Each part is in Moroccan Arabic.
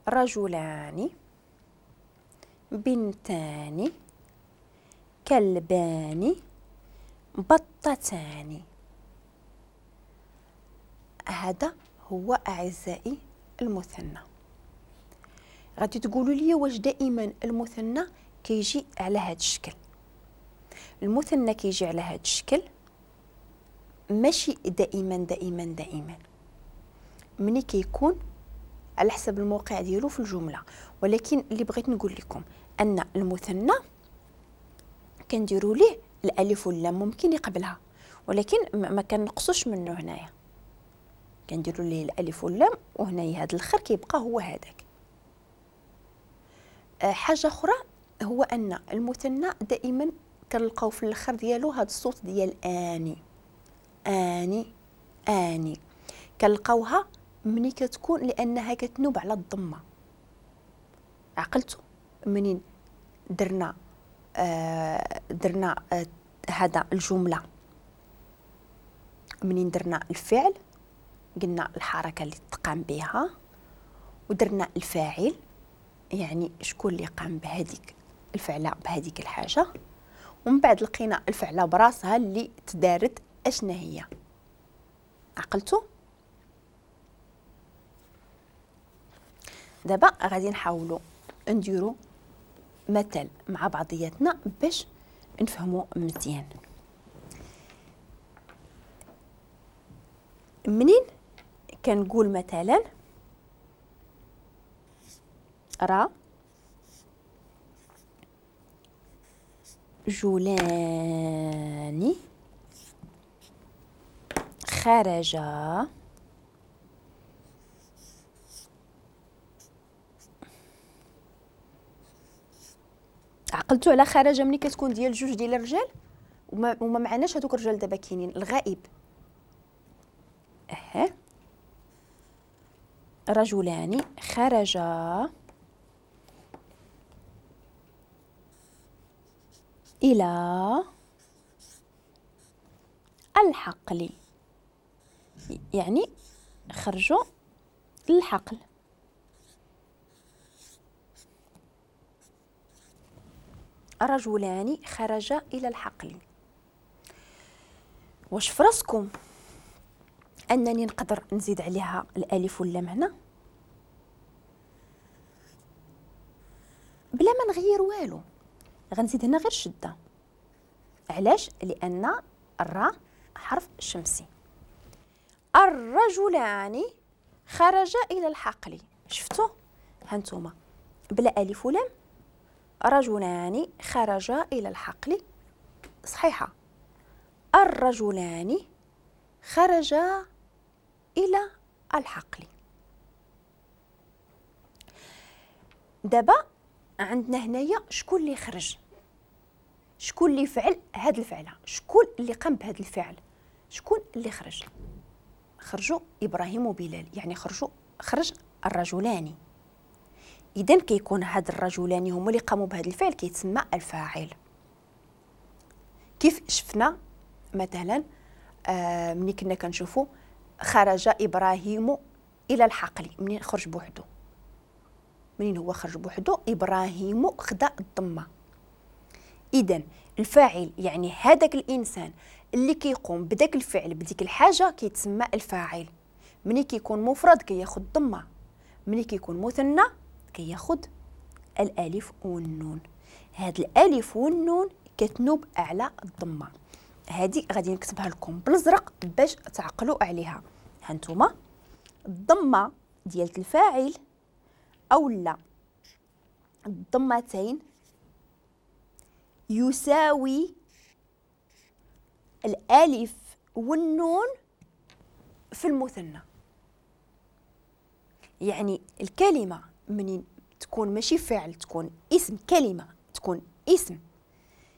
رجلان، بنتان، كلبان، بطتان. هذا هو أعزائي المثنى. غادي تقولوا لي واش دائما المثنى كيجي على هذا الشكل؟ المثنى كيجي على هذا الشكل ماشي دائما دائما دائما، ملي كيكون على حسب الموقع ديالو في الجملة. ولكن اللي بغيت نقول لكم ان المثنى كنديروا ليه الالف واللام ممكن يقبلها، ولكن ما كنقصوش منه. هنايا كنديروا ليه الالف واللام، وهنايا هذا الاخر كيبقى هو هذاك. حاجة اخرى هو ان المثنى دائما كنلقاو في الاخر ديالو هذا الصوت ديال اني اني اني، كنلقاوها مني كتكون لانها كتنوب على الضمة. عقلتو منين درنا هذا الجملة، منين درنا الفعل قلنا الحركة اللي تقام بها، ودرنا الفاعل يعني شكون اللي قام بهذيك الفعلة بهذيك الحاجة، ومن بعد لقينا الفعلة براسها اللي تدارت اشنا هي. عقلتو؟ دابا غادي نحاولوا نديرو مثل مع بعضياتنا باش نفهمو مزيان. منين كنقول مثلا را جولاني خرج عقلتو على خرج ملي كتكون ديال جوج ديال الرجال وما معناش هذوك الرجال دابا كاينين الغائب. رجلان خرجا إلى الحقل، يعني خرجوا للحقل. رجلان خرجا إلى الحقل. واش فراسكم أنني نقدر نزيد عليها الألف واللام هنا بلا ما نغير والو؟ غنزيد هنا غير شدة. علاش؟ لأن الراء حرف شمسي. الرجلان خرجا إلى الحقل. شفتوا؟ هانتوما بلا ألف ولام، رجلان خرجا إلى الحقل صحيحة. الرجلان خرجا إلى الحقل. دابا عندنا هنايا شكون اللي خرج، شكون اللي فعل هاد الفعلة، شكون اللي قام بهاد الفعل، شكون اللي خرج؟ خرجوا إبراهيم وبلال، يعني خرج الرجلان. إذن كيكون هاد الرجلان هما اللي قاموا بهاد الفعل، كيتسمى الفاعل. كيف شفنا مثلا ملي كنا كنشوفوا خرج إبراهيم إلى الحقل، منين خرج بوحدو، منين هو خرج بوحدو إبراهيم خدا الضمة. إذن الفاعل يعني هذاك الإنسان اللي كيقوم بداك الفعل بديك الحاجة كيتسمى الفاعل. ملي كيكون مفرد كياخد الضمة، ملي كيكون مثنى كياخد الألف والنون. هاد الألف والنون كتنوب على الضمة. هادي غادي نكتبها لكم بالازرق باش تعقلوا عليها. هانتوما الضمة ديال الفاعل او لا الضمتين يساوي الالف والنون في المثنى. يعني الكلمة منين تكون ماشي فعل، تكون اسم، كلمة تكون اسم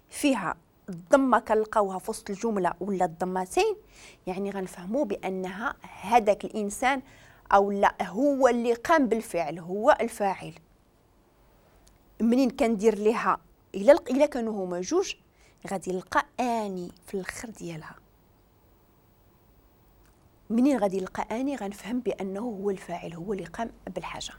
فيها الضمة كنلقاوها في وسط الجملة ولا الضمتين، يعني غنفهموا بانها هذاك الانسان او لا هو اللي قام بالفعل، هو الفاعل. منين كندير ليها الا كانوا هما جوج غادي نلقى اني في الاخر ديالها. منين غادي نلقى اني غنفهم بانه هو الفاعل، هو اللي قام بالحاجة.